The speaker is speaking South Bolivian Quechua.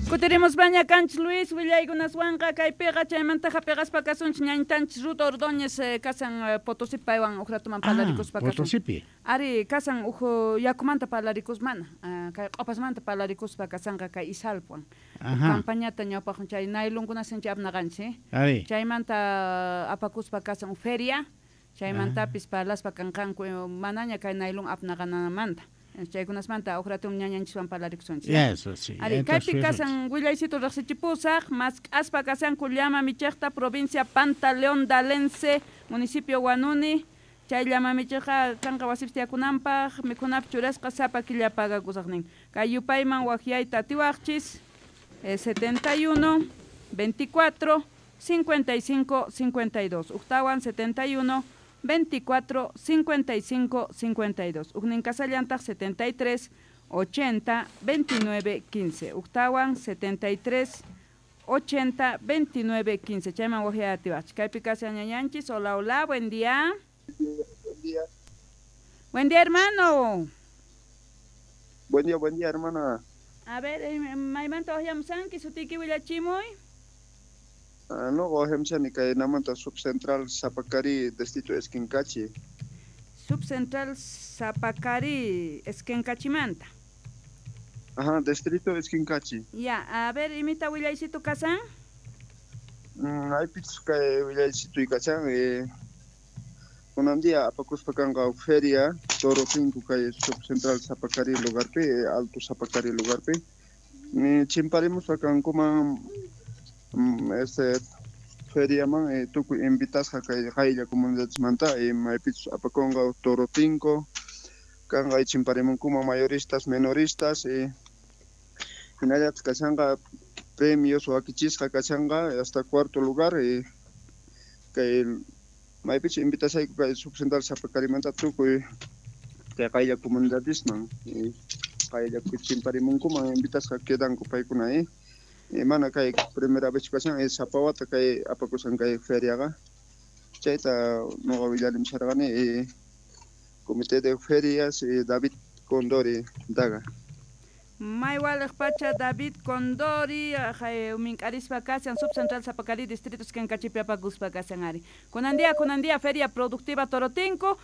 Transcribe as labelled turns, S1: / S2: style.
S1: Kutirimuspaña kanchis, Luis, willaykunaswanqa kaypiqa. Chaymantaqa piqaspa kasunchik ñañtanchis Ruth Ordóñez, kasan Potosí, paywan uj ratuman parlarikuspa kasun.
S2: Potosipi.
S1: Ari, kasan uj yakumanta parlarikus, mana, kay q'opasmanta parlarikuspa kasanqa kay Izalpwan. Campañata ñawpaq chay nailonkunas sinchi apnaqanchik.
S2: Ari.
S1: Chaymanta apakuspa kasan feria, chaymantapis parlaspa kanqanku manaña kay nailon apnaqanamanta. Chaykunasmanta uj ratum ñañanchiswan parlarikusunchik.
S2: Eso sí.
S1: Ari, kaypi kasan willaysitu riqsichipusaq, mask'aspa kasanku llama michiqta provincia Pantaleón Dalense, municipio Huanuni. Chay llama michiqqa kanqa wasipi tiyakunanpaq, mikhunapi churasqa, sapa killa pagakusaq nin. Kay yupayman waqyayta atiwaqchis 71 24 55 52. Uktawan 71 24 55 52. Ujnin kasallantaq 73 80 29 15. Uktawan 73 80 29 15. Chayman waqyayta atiwaqchis. Kaypi kashan ñañanchis. Hola, hola, buen día.
S3: Buen día.
S1: Buen día, hermano.
S3: Buen día, hermana.
S1: A ver, maymanta waqyamusanki, sutiyki willachimuy.
S3: No, waqyamushani kay namanta Subcentral Zapacari, distrito Esquincachi.
S1: Subcentral Zapacari, Esquincachimanta.
S3: Ajá, distrito Esquincachi.
S1: Ya, a ver, imita willaysitu kasan?
S3: Aypichus kay willaysitu kachan, kunan día apakuspa kanqa feria Toro 5 kay Subcentral Zapacari lugarpi, Alto Zapacari lugarpi. Chimparimuspa kankuman este feriaman, tukuy invitasqa kay qaylla comunidadesmanta, maypichus apakunqa Toro 5 kanqa chimparimunkuman mayoristas, menoristas, hinallataq kashanqa premios wakichisqa kashanqa hasta cuarto lugar, kay maypichus invitashayku kay Subcentral Zapacarimanta tukuy kay qaylla comunidadesman, qaylla chimparimunkuman invitasqa quedanku paykuna, mana kay primera vez kashan, sapa wata kay apakushan kay feriaqa. Chayta noqa willarimusharqani, comité de ferias, David Condori daga.
S1: Maywaliq pacha David Condori, mink'arispa kashan Subcentral Zapacari, distrito Esquincachipi apakuspa kashan ari. Kunan día feria productiva Torotinco.